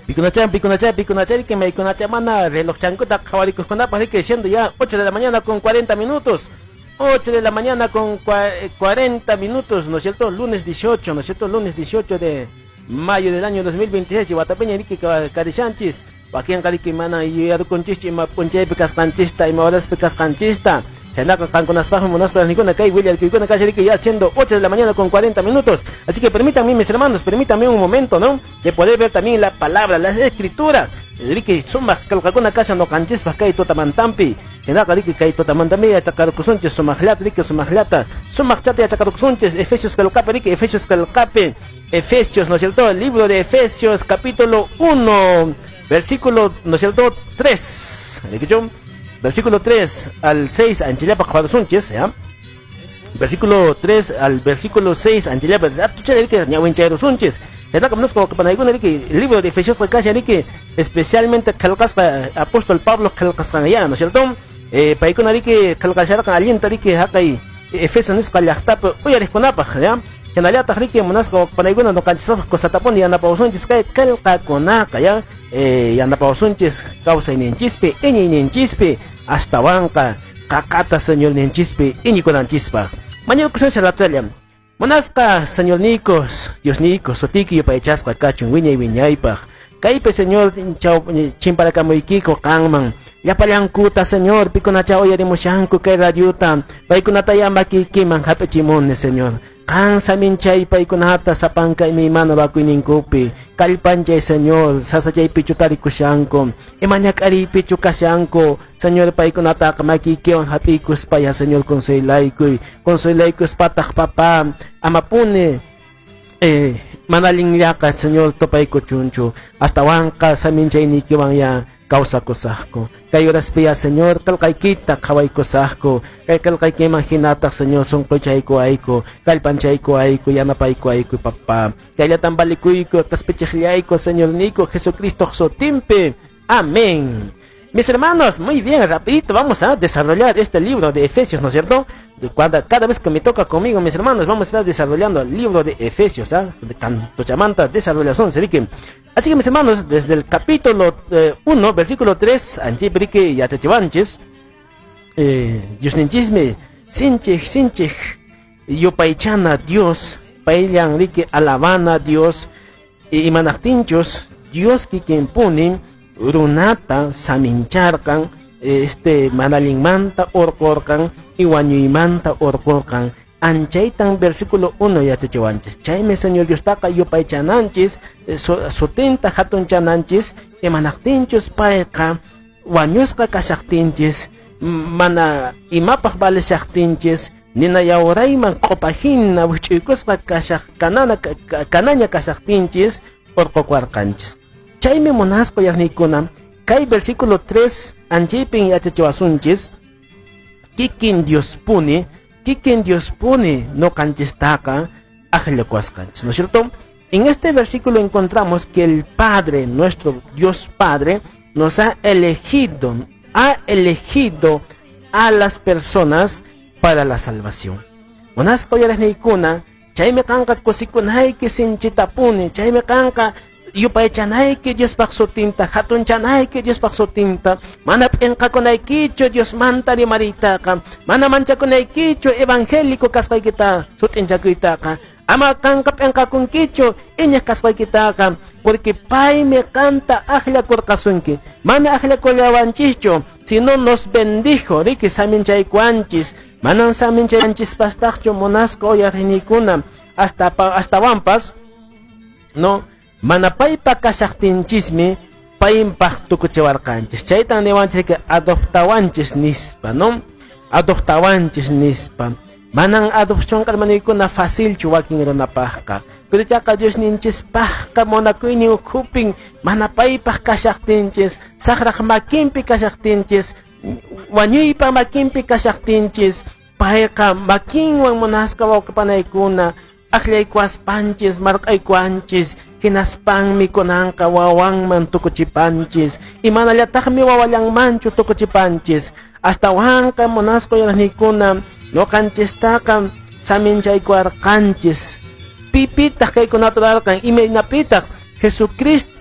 Pikunachan, pikunachan, pikunachan, que me mana reloj chankuta qhawarikuqkunapaq riki, siendo ya 8 de la mañana con 40 minutos. 8 de la mañana con 40 minutos, ¿no es cierto? Lunes 18, ¿no es cierto? Lunes 18 de mayo del año 2026, y watapiña riki karishanchis, wakinqa riki mana yuyarukunchikchu ima p'unchaypi kasqanchista, ima horaspi kasqanchista. Chaynaqa qankunaspaqmi munaspa nikuna kay willarkuykuna kashan riki ya siendo 8 de la mañana con 40 minutos. Así que permítanme, mis hermanos, permítanme un momento, ¿no? De poder ver también la palabra, las escrituras. Riki sumaq qillqakuna kashan ñuqanchispaq kay tutamantampi. Chaynaqa riki kay tutamantampi yachaqarkusunchis sumaqllata riki sumaqllata. Sumaqchata yachaqarkusunchis Efesios qillqapi riki Efesios qillqapi. Efesios, ¿no es cierto? El libro de Efesios, capítulo 1, versículo, ¿no es cierto? 3. Versículo 3 al 6, anchillapa qhawarusunchis, ¿ya? Versículo 3 al versículo 6, anchillapa, ñawinchayrusunchis. Chaynaqa munasqa wawqipanaykuna riki, el libro de Efesios kashan riki, especialmente qillqasqa apóstol Pablo qillqasqan ya, ¿no es cierto? Paykuna riki qillqasharqan allinta riki haqay Efeso nisqa llaqtapi uyariqkunapaq, ¿ya? Hinallataq riki munasqa wawqipanaykuna ñuqanchispaq kusatapuni yanapawasunchis kay qillqakunaqa, ya? Yanapawasunchis kawsayninchispi, iñiyninchispi, astawanqa qaqata Señorninchispi iñikunanchispaq. Mañakusunchis ratalla. Munasqa Señornikos, Diosnikos, sutiyki yupaychasqa kachun wiñay wiñaypaq. Kaypi Señor chimparakamuykiku qanman. Llapallankuta Señor, pikunacha uyarimushanku kay radiota, paykunata makiykiman hap'ichimuni Señor. Qan saminchay paykunata sapanka imaymana wakuyninkupi. Kallpanchay Señor, sasachaypichu tarikushanku, ima ñak'ariypichu kashanku. Señor, paykunataqa makiykiwan hap'iykuspaya Señor consuelaykuy. Consuelaykuspataq papá, amapuni mana allinllaqa Señor tupaykuchunchu. Astawanqa saminchayniykiwan ya kawsakusaqku. Kay horaspiya Señor qillqaykita qhawaykusaqku. Kay qillqaykiman hinataq Señor sunquchaykuwayku, kallpanchaykuwayku, yanapaykuwayku papá. Kayllatan valikuyku, q'ispichiqllayku Señorniyku Jesucristo sutinpi. Amén. Mis hermanos, muy bien, rapidito vamos a desarrollar este libro de Efesios, ¿no es cierto? Cada vez que me toca conmigo, mis hermanos, vamos a estar desarrollando el libro de Efesios, ¿ah? De tanto chamanta, desarrollación, se. Así que, mis hermanos, desde el capítulo 1, versículo 3, anchiprique yachachiwanchis, Diosninchismi, sinchik, sinchik, yupaychana Dios, payllan riki alabana Dios, imanaqtinchus, Dios kikinpuni, runata samincharqan, manalinmanta urqurqan, y wañuymanta urqurqan. Anchaytan versículo 1 yachachiwanchis. Chaymi Señor Diostaqa yupaychananchis, sutinta hatunchananchis, imanaqtinchus payqa wañusqa kashaqtinchis, mana imapaq valishaqtinchis, nina yawrayman q'upahina wich'uykusqa kashaq kanana kanaña kashaqtinchis urqukuwarqanchis. Chaymi munasqa yaqniykuna, kay versículo 3 anchaypin yachachiwasunchis, kikin Diospuni, kikin Diospuni ñuqanchistaqa akllakuwasqanchis, ¿no es cierto? En este versículo encontramos que el Padre, nuestro Dios Padre, nos ha elegido a las personas para la salvación. Munasqa uyariqniykuna, chaymi qanqa kusikunayki sinchitapuni, chaymi qanqa yupaychanayki Diospaq sutinta, hatunchanayki Diospaq sutinta, mana p'inqakunaykichu Diosmanta rimariytaqa, mana manchakunaykichu evangélico kasqaykita sut'inchakuytaqa, ama qanqa p'inqakunkichu iñiq kasqaykitaqa, porque paymi qanta akllakurqasunki, mana akllakullawanchischu, sino nos bendijo, riki saminchaykuanchis, manan saminchaywanchispastaqchu munasqa uyariqniykuna, hasta wampas, no, mana paypa kashaqtinchismi paypaq tukuchiwarqanchis. Chaytan niwanchis que adoptawanchis nispa, ¿no? Adoptawanchis nispa. Manan adopción hermanoykuna facilchu wakin runapaqqa. Pero chaqa Diosninchispaqqa munakuynin ukhupin mana paypaq kashaqtinchis, saqraq makinpi kashaqtinchis, wañuypa makinpi kashaqtinchis, payqa makinwan munasqa wawqipanaykuna aklaykuaspanchis, marq'aykuanchis, hinaspanmi kunanqa wawanman tukuchipanchis, imanallataqmi wawallanmanchu tukuchipanchis, astawanqa munasqa uyariqniykuna ñuqanchistaqa saminchaykuwarqanchis. Pipitaq kaykunata rurarqan, imaynapitaq Jesucristo